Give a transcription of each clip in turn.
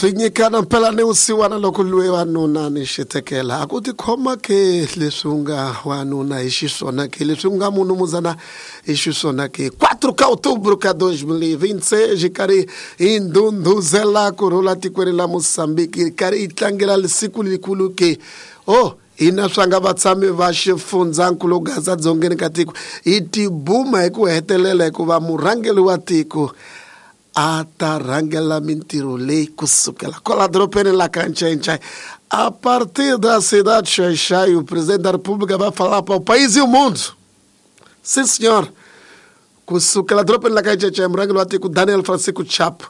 Swi nyikana mpela ni vusiwana loko lwe wanuna ni xitekela a ku tikhoma ke leswi u nga wanuna hi xiswona ke leswi u nga munumuzana hi xiswona ke 4 ka outubro ka 2026 hi karhi hi ndhundhuzela ku rhula tikweni la Mozambique hi karhi hi tlangela siku likulu ke oh hina swa nga vatshami va xifundzankulu Gaza dzongeni ka tiko hi tibuma hi ku hetelela hikuva murhangeri wa tiko a ta rhangela mintirho leyi kusukela kwala dorobeni la ka Ncencai a partir da cidade de Xai-Xai, o presidente da República vai falar para o país e o mundo. Sim, senhor. Kusukela dorobeni la ka Ncencai, murhangeri wa tiko Daniel Francisco Chapo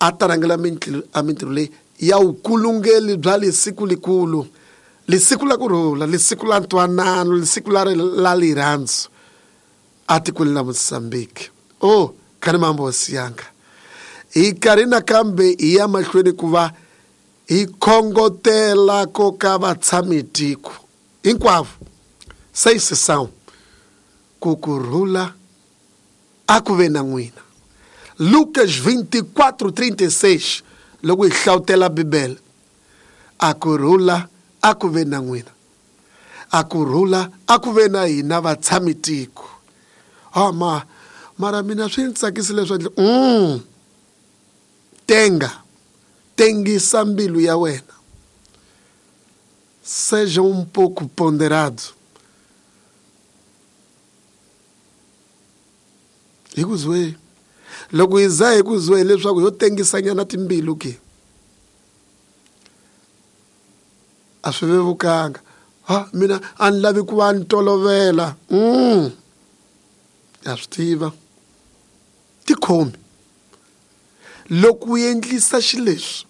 a ta rhangela a mintirho leyi ya vukulungeli bya lisiku likulu lisiku la ku rhula lisiku la ntwanano lisiku la rirhandzu atikweni la Mozambique. Oh, kani mambo siyanga hi karhi nakambe hi ya mahlweni ku va hi khongotela ko ka vatshami tiko hinkwavo seisisão ku ku rhula a ku ve na n'wina. Lucas 24:36 loko hi hlawutela Bibele a ku rhula a ku ve na n'wina a ku rhula a ku ve na hina vatshami tiko. Ah ma mara mina swi ni tsakisi leswi tenga tengisa mbilu ya wena seja um pouco ponderado hi ku zwe loko hi za hi ku zwe leswaku yo tengisanyana timbilu ke a swi vevukanga ha mina a ni lavi ku va ni tolovela ya swi tiva tikhomi loko u endlisa xileswi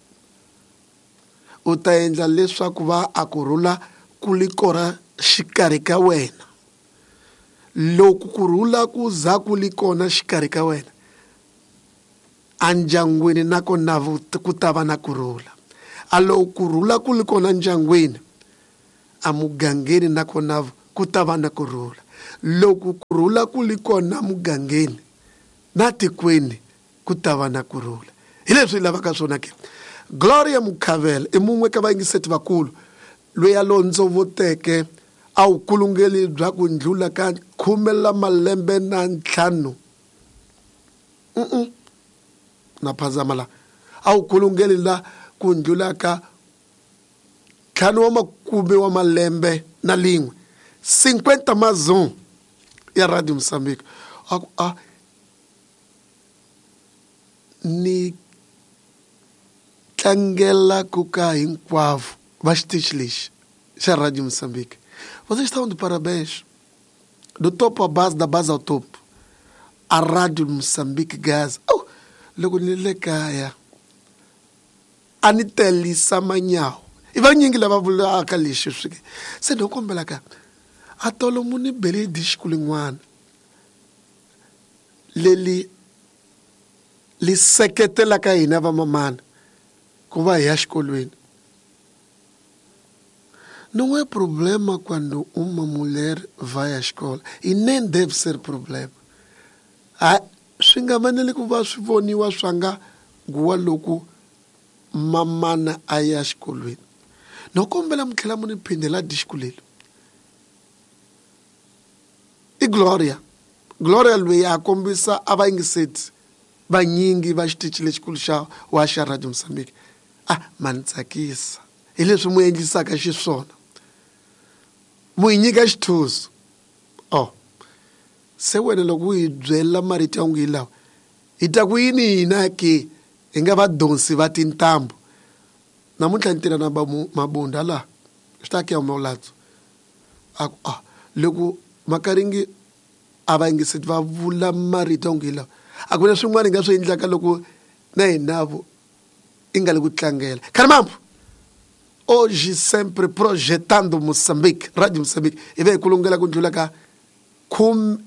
u ta endla leswaku va a ku rhula ku li kona xikarhi ka wena loko ku rhula ku za ku li kona xikarhi ka wena endyangwini nakona ku ta va na ku rhula a loko ku rhula ku li kona ndyangwini emugangeni nakona ku ta va na ku rhula loko ku rhula ku li kona mugangeni na tikweni ku ta va na ku rhula hi leswi hi lavaka swona ke Gloria Mukhavela i mun'we ka vayingiseti vakulu loyi a londzovoteke a vukulungeli bya ku ndlula ka 15 la malembe na ntlhanu na phazama la a vukulungeli la ku ndlula ka 5 wa makume wa malembe na lin'we 50 mazon ya Radio Mozambique a ku a ni tlangela ku ka hinkwavo va xitichi lexi xa Radio Mozambique. Vocês estão de parabéns. Do topo à base, da base ao topo. A Rádio Moçambique Gaza. Oh, loko ni le kaya a ni telisa manyawo i vanyingi lava vulaka lexi swi se no kombela ka a tolo mu ni bele dixiku lin'wana leli li seketelaka hina vamamana ku va hi ya xikolweni. Não é problema quando uma mulher vai à escola. E nem deve ser problema. Swi nga fanele ku va swi voniwa swa nga nguwa loko mamana a ya xikolweni. No kombela mi tlhela mu ni phindela dixiku leli. I Gloria. Gloria loyi a kombisa a va yingiseti vanyingi va xitichi lexikulu xa wa xa Radio Mozambique. A ma ni tsakisa hi leswi mu endlisaka xiswona mu hi nyika xithuso. Oh se wena loko u hi byela marito ya ngi lawa hi ta ku yini hina ke hi nga vadonsi va tintambu namuntlha ni tirha na mabunda la swi ta ke maulatso a ku a loko makaringi a va yingiseti va vula marito ya ngi lawa a ku na swin'wana hi nga swi endlaka loko na hinavo i nga le ku tlangela. Khalimambo hoje sempre projetando Moçambique, Radio Moçambique hi ve hi kulungela ku ndlula ka 5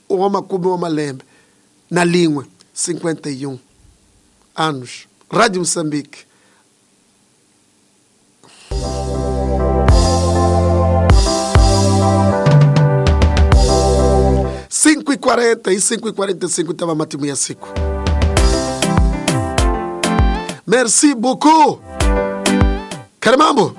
wa makume wa malembe na lin'we 51 anos. Radio Moçambique. 5:40 e 5:45 tava matimu ya siku. Merci beaucoup. Karimambo.